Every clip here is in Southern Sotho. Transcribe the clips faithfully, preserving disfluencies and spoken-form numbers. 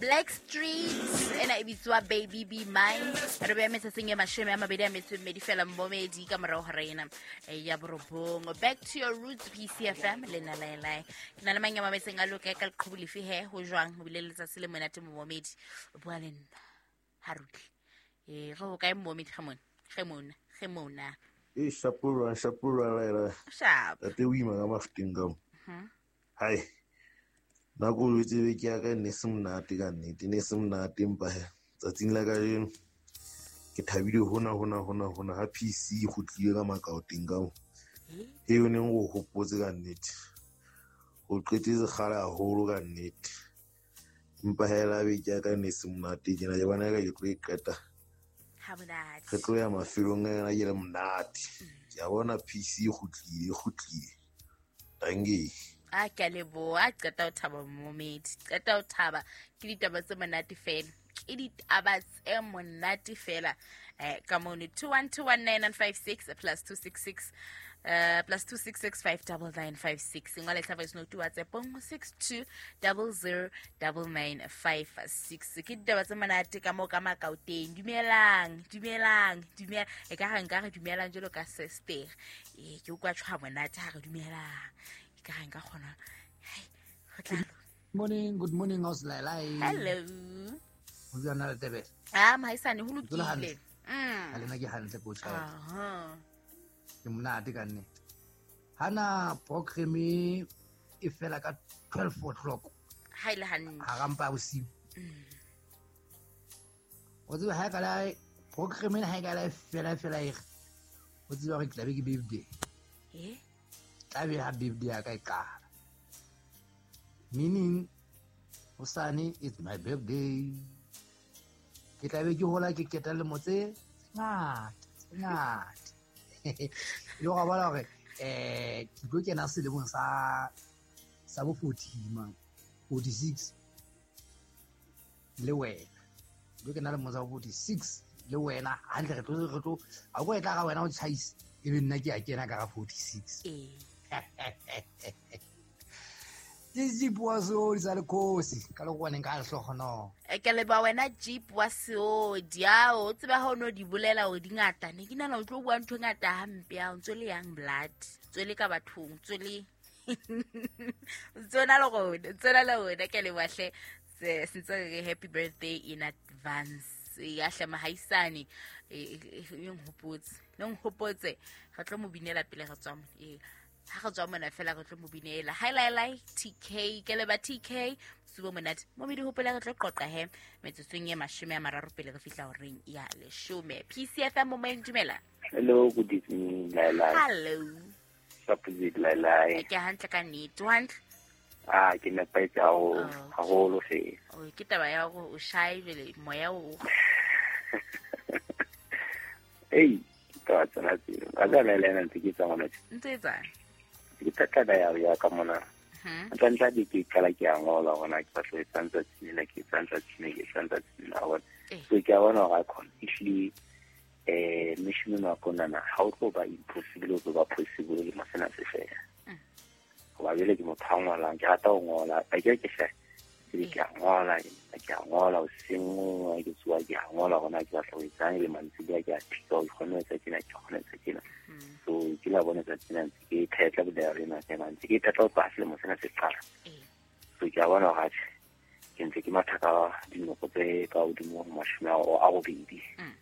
Black Street ena e bitswa Baby Be Mine. Re beya metsatsing e mashome a mabedi a metso e mmedi fela mmomedi ka morao hora ena ya borobong. Back to your roots P C F M le nna Laelae. Ke na le mang ya mametseng a loka ka leqhubu lefe he ho jwang ho bile letsatsi le monate mmomedi. O bua le nna Haruki. Eh re ho kae mmomedi ge mona? Ge mona, ge mona. E shapura shapura Laelae. Shap. Tate o ima ka mafuteng ka mo. Mhm. Hai. Nako o tsebe ke ya ka ne se monate ka nnete, ne se monate empa he tsatsing la kajeno ke thabile hona hona hona hona ha P C e kgutlile ka makaoteng ka mo. E o neng o hopotse ka nnete. O qetetse kgale haholo ka nnete. Empa hela beke ya ka ne se monate tjena ke bona ka ke tlo e qeta. Ha monate. Re tlo ya mafelong a yona ke le monate. Ke a bona P C e kgutlile, e kgutlile. Dankie. A ke a leboha, a qeta ho thaba momedi, qeta ho thaba ke ditaba tse monate fela, ke ditaba tse monate fela. Eh ka mono two one two one nine nine five six plus two six six, uh, plus two six six five double nine five six. Ngola tla voice note WhatsApp six two double zero double nine five six. Ke ditaba tse monate ka mo ka makaoteng. Dumelang, dumelang, dumela. E ka re nka re dumelang jalo ka sister. Eh ke utlwa tshwa monate ha re dumelang. Ka re nka kgona. Hai, ho tla lo. Morning, good morning, house Laelae. Hello. Ho jwang na le Tebele? Ah, mahaisane, ho Ke dula lokile. hantle. Mm. Ha lena ke hantle ko tjha. Aha. Ke monate ka nnete. Hana program e fela ka twelve o'clock. Ha ile hantle. Ha rampa bosiu. Mm. O tseba ha ka la program ena ha ka la fela fela e re. O tseba hore ke tla be ke birthday. Eh? Tla be ha birthday ya ka e qala. Meaning hosane it's my birthday. Ke tla be ke hola ke keta lemo tse ngata, tse ngata. Le go bona hore eh ke tlo kena selemong sa sa bo forty man, forty-six le wena. Ke tlo kena lemong sa bo forty-six le wena hantle re tlo re tlo a go etla ga wena o tjhaise e be nna ke a kena ka ga forty-six. Eh. Ke Jeep wa Seodi sa lekgosi ka lekgowaneng ka lehlohonolo. E ke leba wena Jeep wa Seodi. Ao, o tseba ha o no di bolela hore di ngata. Ne ke nahana o tlo bua ntho e ngata hampe ao, ntso le young blood, ntso le ka bathong, ntso le ntso na le rona, ntso na le rona. Ke leboha hle. Se sentse re happy birthday in advance. Ya hle mahaisane, e, e, e nhopotse. Le nhopotse, re tlo mo binela pele re tswa mo. E ha re tswa mona fela re tlo mo binela. Hi Laelae T K, ke leba T K, subo monate. Mo medi hopola re tlo qoqa he metsotsong e mashome a mararo pele re fihla horeng ya leshome. P C F M mo moyeng, dumela. Hello, good evening Laelae. Hello. Supposed Laelae. Ke hantle ka nnete, o hantle? Ah, ke nepahetse haholo, Oh. haholo fela. Oh, ke taba ya hore o shy jwale moya o. Ei, ke taba tsena tseo. Ka tsela le ena ntse ke tsa ngwana tje. Ntse e tsang? Ke thata ya ya ka mona. Mhm. Ntla ntla di ke qala ke a ngola hore na ke batla ho etsa letsatsi lena, ke etsa letsatsi lena, ke etsa letsatsi lena, wa bona. Eh. So ke a bona hore a khona. Ehlile, eh, mission ena wa kona na, ha o tlo ba impossible, o tlo ba possible le masena se fela. Mm. Hoba jwale ke motho a ngolang, ke rata ho ngola. A ke ke hle, ke ke a ngola, ke a ngola hoseng, ke tsoha ke a ngola hore na ke batla ho etsang, le mantsiboya ke a phika, ke kgone ho etsa tjena, ke kgone ho etsa tjena. Mm. So ke la bona tsatsi lena ntse ke phetla diary ena, ke ntse ke phetla ho tloha selemo sena se qala. Eh. So ke a bona hore atjhe, ke ntse ke matha ka dinoko tse ka hodimo ho mashome a a robedi. Mm.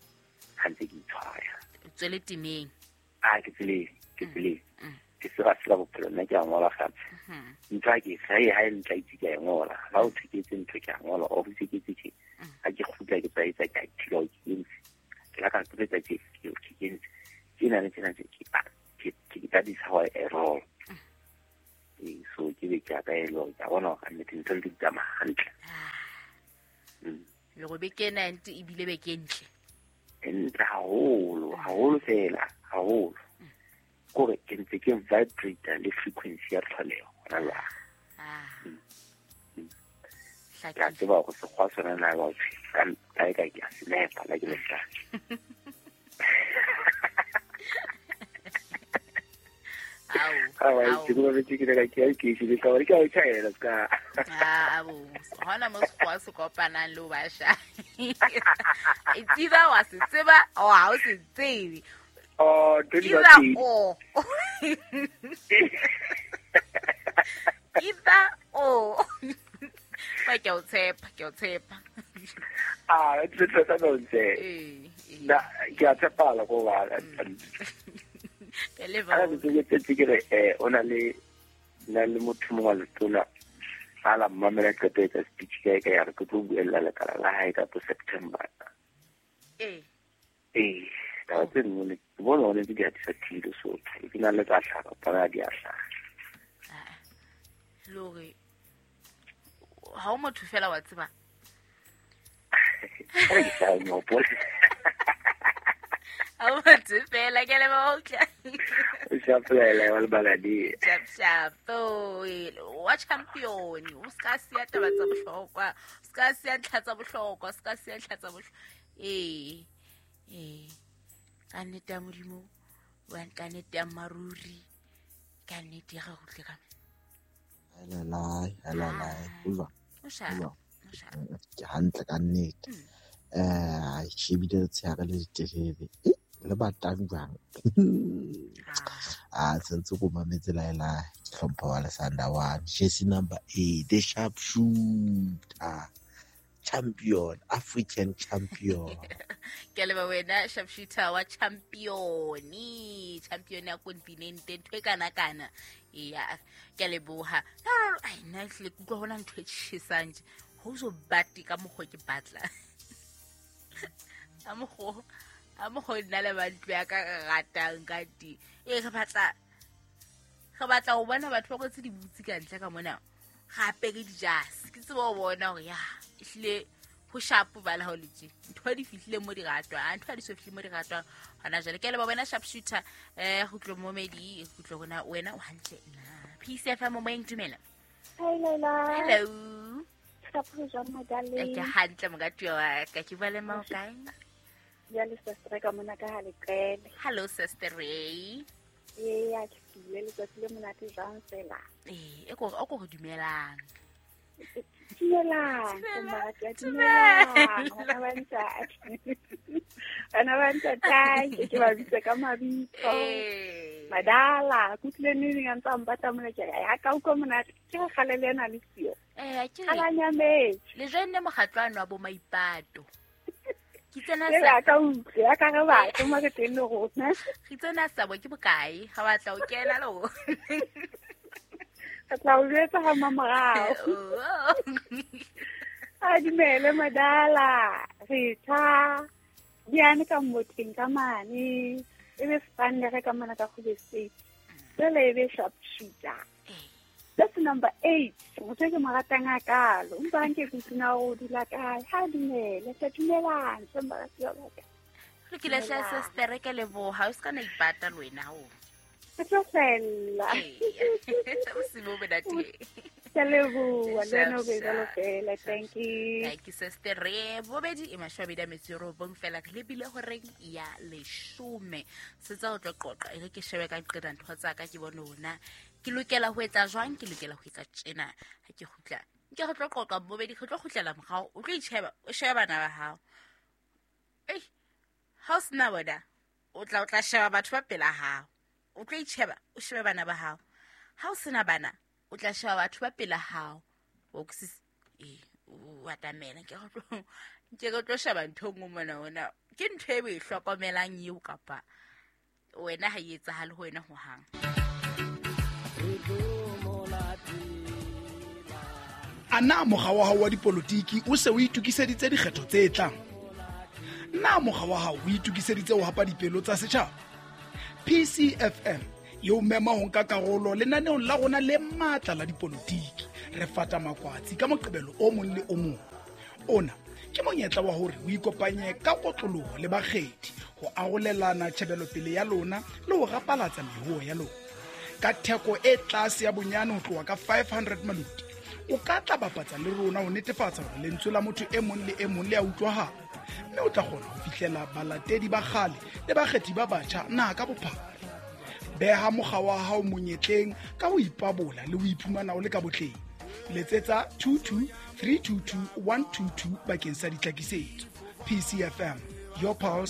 Ha ntse ke itshwaya. O tswele temeng. Ah, ke tseleng, ke Mm. tseleng. Mm. Ke sera sela bophelo, nna ke a ngola fatshe. Mhm. Ntho ha ke e ha e ntla itse ke a e ngola. Ha o thwe ke etse ntho ke a ngola, o itse ke etse tje. Mm. Ha ke kgutla ke tsa etsa ke a ithila hore ke entse. Ke la ka tlo etsa tje, ke ke entse. Tjena le tjena tje, ke, ah, ke, ke, that is how I roll. Mm. Ee, so ke be ke a ka e le hore ke a bona hore kannete ntho di tsamaya hantle. Ah. Mm. Le go beke ena ntse ebile beke ntle. E ntle haholo, haholo fela, haholo. Kore ke ntse ke vibrate le frequency ya tlholeho hona jwale. Ah. Mm. Mm. Hlakile. Ke a tseba hore sekgwa sona na ba thwe, ka kae kae ke a se nepa la ke lehlaka. Au. Ah, ke go betse ke ka ke ke ke ka ke a tshela ska. Ah, bo. Hona mo sekgowa se kopanang le o basha. It's either wa se tseba or ha o se tsebe. Oh, either or. Either or. Ba ke o tshepa, ke o tshepa. Ah, it's it's a nonsense. Eh. Na ke a tshepala go ba. Ke le ba. Ke ke ke re eh ona le na le motho mongwe wa letona a la mmamela qeto etsa speech ka ka ya re ke tlo buella lekala la hae ka September. Eh. Eh, taba tse nngwe le ke bona hore di a disatile so ke na le tsa hlaha para di a hlaha. Le hore ha o motho fela wa tseba. Re ke sa no pole. Ha o motho fela ke le ba utla. O shapela wa baladi. Shap shap. Wa champion. O ska siya taba tsa bohlokwa. O ska siya ntlha tsa bohlokwa, o ska siya ntlha tsa bohlokwa. Eh. Eh. Ka nnete ya Modimo, wa ka nnete ya maruri. Ka nnete ya go tle ka. Hello, hello, hello. O sha. O sha. Ke hantle ka nnete. Eh, shebile tsheare le ditelele. Eh, le batang jwang. Ah, sentse go mametse la ela ke hlompha wa Lesanda one. Jersey number eight, the sharp shooter. Champion, African champion. Ke le ba wena sharp shooter wa champion. Champion ya continent ntho e kana kana. Ya, ke le boha. No no, ai nna hle ke utlwa hona ntho e tjhesang nje. Ho so bati ka mokgo ke batla. A mokgo, a mokgo nna le ba ntlo ya ka ratang ka di. E re batla re batla ho bona batho ba kwetse dibutsi ka ntle ka mona. Gape ke dijase. Ke tseba ho bona hore ya ehlile ho sharp ba la ho letse. Ntho di fihlile mo di ratwa, ntho di so fihlile mo di ratwa. Hona jwale ke le ba wena sharp shooter eh go tlo momedi, go tlo bona wena o hantle na. P C F M mo moyeng dumela. Hi Leila. Hello. Ka jwang madale? Ke hantle mokatuwa wa ka ke bua le mang kae? Ya le sister ka mona ka ha leqele. Hello sister Ray. Ee, ya ke file letsatsi le monate jwang fela. Eh, e ko o ko re dumelang. Dumelang, monate dumelang. Bana ba ntate. Bana ba ntate, ke ke ba bitsa ka mabitso. Madala, kutlile neng a ntsa mpata mona ke ya ka utlwa monate. Ke re kgale le ena le siyo. Eh, ke re. Ala Le jwenne mokgatlo wa bo maipato. Ke tsena sa ka utlwe ya ka re batho mo re teng le rona. Ke tsena sa bo ke bokae ga batla o kena le o. Ka tla o jwetsa ha mamorao. A dumele madala re tha diane ka motheng ka mane e be spanne re ka mona ka go state. Tsele e be sharp shooter. That's number eight. Motho ke mo ratang a kalo. Mpa nke ke tsena o dula kae. Ha dumele, tla dumelang, somba ka ka. Re ke le hla sister ke leboha, o ska na ipata le wena ho. Ke tlo fella. O se bo bena teng. Ke leboha, le wena o be jwalo fela. Thank you. Thank you sister. Re bobedi e mashwabedi a metso e robong fela re lebile horeng ya leshome. Setsa o tlo qoqa e re ke shebe ka qeta ntho tsa ka ke bone hona. Ke lokela ho etsa jwang, ke lokela ho etsa tjena ha ke kgutla. Nke re tlo qoqa bobedi, re tlo kgutlela morao, o tlo itjheba, o shebe bana ba hao. Ei, ha o sena bona, o tla o tla sheba batho ba pela hao. O tlo itjheba, o shebe bana ba hao. Ha o sena bana, o tla sheba batho ba pela hao. O kusisi, eh, o atamela ke re tlo ke re tlo sheba ntho nngwe mona ona. Ke ntho e o e hlokomelang eo kapa wena ha e etsahale ho wena ho hang. Ana mokga wa hao wa dipolotiki o se o itokiseditse dikgetho tse tlang? Na mokga wa hao o itokiseditse ho hapa dipelo tsa setjhaba? P C F M e o mema ho nka karolo lenaneong la rona le matla la dipolotiki. Re fata makwatsi ka Moqebelo o mong le o mong. Ona ke monyetla wa hore o ikopanye ka kotloloho le bakgethi ho arolelana tjhebelopele ya lona le ho rapalatsa mehoho ya lona. Ka theko e tlase ya bonyane ho tloha ka five hundred maluti, o ka tla bapatsa le rona ho netefatsa hore lentswe la motho e mong le e mong le a utlwahala, mme o tla kgona ho fihlela balatedi ba kgale le bakgethi ba batjha naha ka bophara. Beha mokga wa hao monyetleng ka ho ipabola le ho iphumana o le ka botleng. Letsetsa two two three two two one two two bakeng sa ditlhakisetso. P C F M, your pulse.